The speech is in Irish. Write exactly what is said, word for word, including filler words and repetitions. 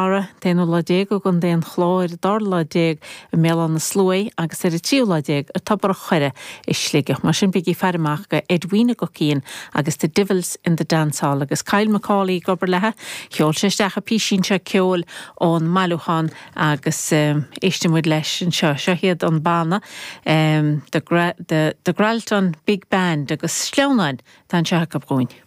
Conamara, t-aonú lá déag i gContae an Chláir, dara lá déag i mBéal Átha na Sluaighe agus ar an tríú lá déag i Tobar an Choire i Sligeach. Mar sin bígí ag faire amach go Edwina Guckian agus The Divils in the Dance Hall agus Kyle McCauley ag obair léi. Sheol sé isteach an písín seo ceoil ón mbailiúchán agus éistfidh muid leis anseo. Seo iad an banna um, the, the, the Gralton Big Band agus sleamhnáin tá anseo acu dhúinn.